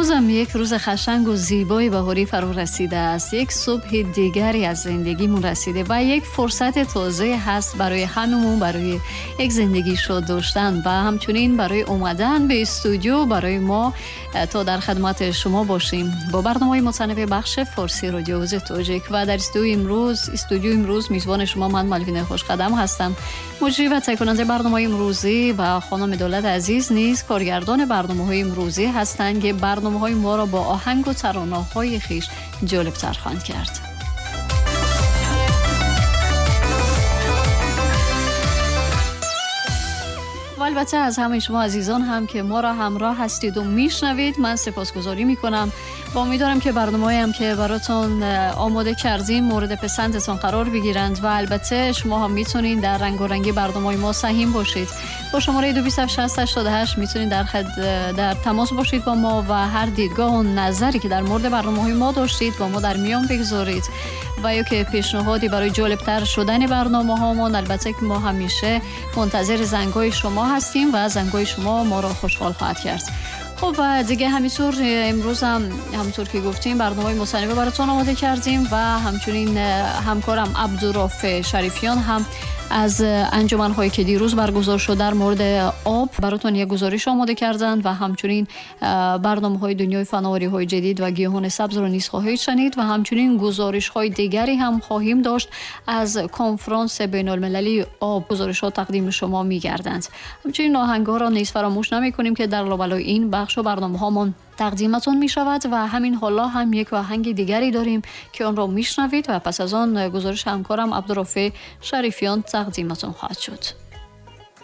Имрӯзам як рӯзи қашанг ва зебои баҳорӣ фаро расидааст. Як субҳи дигаре аз зиндагимон расида ва як фурсати тоза ҳаст барои ҳамамон, барои як зиндагии шод доштан ва ҳамчунин барои омадан ба студио барои мо то дар хидмати шумо бошем бо барномаи мутанаввеи бахши форсии радиои Овози Тоҷик. Ва дар студиои имрӯз мизбони шумо ман Малвина Хушқадам ҳастам. Муҷрӣ ва таҳиякунандаи барномаи имрӯзӣ ва хонум Давлат Азиз низ коргардони барномаҳои имрӯзӣ ҳастанд, ки барномаҳои моро бо оҳанг ва таронаҳои хеш ҷолибтар хоҳанд кард. ва албатта аз ҳамаи шумо азизон ҳам ки моро ҳамроҳ ҳастед ва мешнавед, ман сипосгузорӣ мекунам ва умедворам ки барномаҳоям ки баротон омода кардем мавриди писандатон қарор бигиранд ва албатта шумо ҳам метавонед дар рангорангии барномаҳои мо саҳим бошед. Бо шумораи 276088 метавонед дар тамос бошед бо мо ва ҳар дидгоҳ ва назаре ки дар мавриди барномаҳои мо доштед бо мо дар миён бигузоред ва ё ки пешниҳоде барои ҷолибтар шудани барномаҳомон. Албатта ки мо ҳамеша мунтазири зангҳои шумо ҳастем ва зангҳои шумо моро хушҳол хоҳад кард. Хуб, ва дига ҳаминтур имрӯз ҳам ҳамонтур ки гуфтем барномаи мутанаввеъ баротон омода кардем ва ҳамчунин ҳамкорам Абдурофеъ Шарифиён ҳам аз анҷуманҳое ки дирӯз баргузор шуд дар мавриди об баротон як гузориш омода карданд ва ҳамчунин барномаҳои дунёи фановариҳои ҷадид ва гиёҳони сабзро низ хоҳед шунид ва ҳамчунин гузоришҳои дигаре ҳам хоҳем дошт аз конфронси байналмилалии об. Гузоришҳо тақдими шумо мегарданд. Ҳамчунин оҳангҳоро низ фаромӯш намекунем ки дар лобалои ин бахш ва барномаҳомон тақдиматон мешавад ва ҳамин ҳоло ҳам як оҳанги дигаре дорем ки онро мешнавед ва пас аз он гузориши ҳамкорам Абдурофеъ Шарифиён тақдиматон хоҳад шуд.